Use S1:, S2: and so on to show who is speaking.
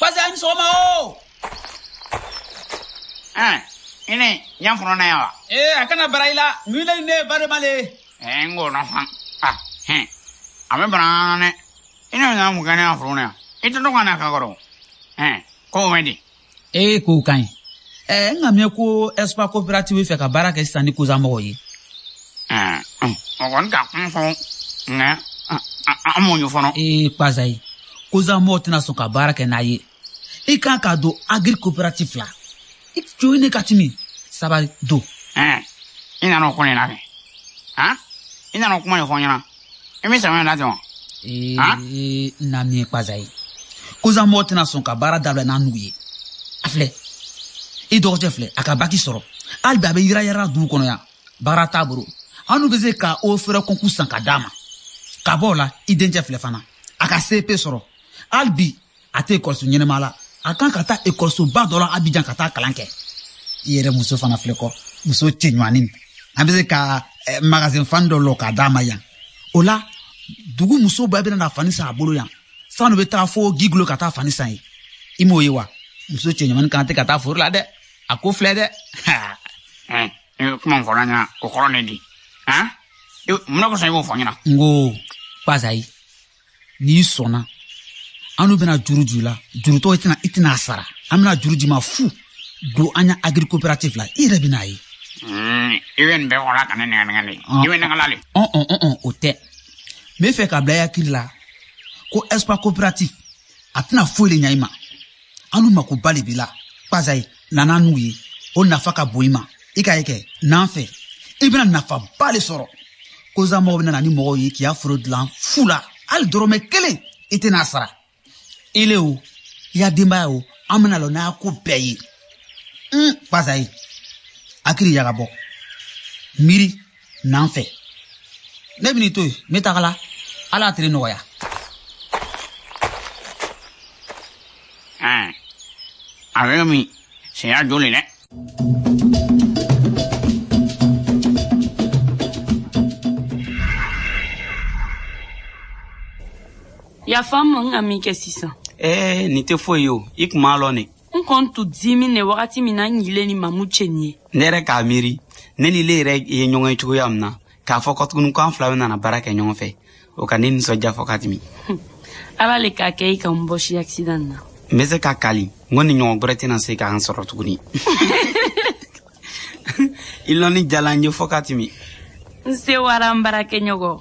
S1: Kpaza ni sɔgɔma o.
S2: Ɛn, i ne yan fɔlɔ na yan wa?
S1: Ee a kana bara i la, ne ni ne ye barema le ye.
S2: Ɛɛ n k'o dɔn fan. Ah, hɛn, a bɛ bana na dɛ. I ne bɛna mun kɛ ne ka foro la yan? I tɛ to ka na ka kɔrɔ. Ɛn, kow bɛ di?
S1: Ee kow ka ɲi. Ɛɛ n ka mɛn ko Espoir coopérative bɛ fɛ ka baara kɛ sisan ni Koza mɔgɔw ye.
S2: Ɛɛ, o kɔni ka kuma fɔ nka an m'o ye fɔlɔ.
S1: Ee Kpazayi, Koza mɔgɔw tɛna sɔn ka baara kɛ n'a ye. I kan ka don agri coopérative la. I jo ne ka timi. Sabali don.
S2: Ɛɛ, i nana o ko de la kɛ. Han? I nana o kuma de fɔ n ɲɛna. I bɛ sɛbɛn da ten wa?
S1: Ee, na min ye Kpazayi. Koza mɔgɔw tɛna sɔn ka baara dabila n'a nugu ye. A filɛ, i dɔgɔcɛ filɛ, a ka baki sɔrɔ. Hali bi a bɛ yira yira dugu kɔnɔ yan. Baara t'a bolo. An n'u bɛ se ka o fɛrɛ kɔnku san ka d'a ma. Ka bɔ o la, i dencɛ filɛ fana. A ka CP sɔrɔ. Hali bi a tɛ ekɔliso ɲɛnama la. A kan ka taa ekɔlisoba dɔ la Abidjan ka taa kalan kɛ. I yɛrɛ muso fana filɛ kɔ, muso cɛɲumanin. An bɛ se ka magasin fani dɔ lɔ k'a d'a ma yan. O la, dugu muso bɛɛ bɛna na fani san a bolo yan. Sanu bɛ taa fo Guiglo ka taa fani san yen. I m'o ye wa? Muso cɛɲumanin kan tɛ ka taa foro la dɛ. A ko filɛ dɛ.
S2: Ɛɛ, i bɛ kuma min fɔ ne ɲɛna, o kɔrɔ ne di. Han? Mun na kosɔn i b'o fɔ n ɲɛna?
S1: N ko, Kpazayi, n'i sɔnna, an n'u bɛna juru juru la. Jurutɔ i tɛna a sara. An bɛna juru d'i ma fu. Don an ya agri coopérative la, i yɛrɛ bɛn'a ye.
S2: I bɛ nin bɛɛ fɔ la ka ne nɛgɛ nɛgɛ de. I bɛ nɛgɛ la de.
S1: Ɔn, o tɛ. N bɛ fɛ ka bila i hakili la ko Espoir coopérative a tɛna foyi de ɲa i ma. An n'u makoba de b'i la. Kpazayi, na n'an n'u ye. O nafa ka bon i ma. I ka ye kɛ, n'an fɛ, i bɛna nafaba de sɔrɔ. Koza mɔgɔw bɛna na ni mɔgɔw ye k'i ya foro dilan fu la. Hali dɔrɔmɛ kelen, i tɛna sara. Ile o, i ya denbaya o, an bɛna lɔ n'a ko bɛɛ ye. Kpazayi, hakili yaga bɔ. Miiri, n'an fɛ. Ne bɛn'i to yen, n bɛ taga la. Ala y'a tile nɔgɔya.
S2: Ɛn, a bɛ min, sɛya joli dɛ.
S3: Yafa n ma n ka min kɛ sisan.
S4: Ee, nin tɛ foyi ye o, i kun m'a lɔn ne.
S3: N kɔni tun dimi ne wagati min na n yile ni Mamu cɛ nin ye.
S4: Ne yɛrɛ k'a miiri, ne ni le yɛrɛ ye ɲɔgɔn ye cogoya min na, k'a fɔ ko tuguni k'an fila bɛna na baara kɛ ɲɔgɔn fɛ, o ka ne nisɔndiya fɔ ka tɛmɛ.
S3: Ala le k'a kɛ i ka n bɔsi accident na.
S4: N bɛ se ka kali, n ko nin ɲɔgɔn gwɛrɛ tɛna se k'an sɔrɔ tuguni. I lɔnni diyala n ye fɔ ka tɛmɛ.
S3: N sewara n baarakɛɲɔgɔn.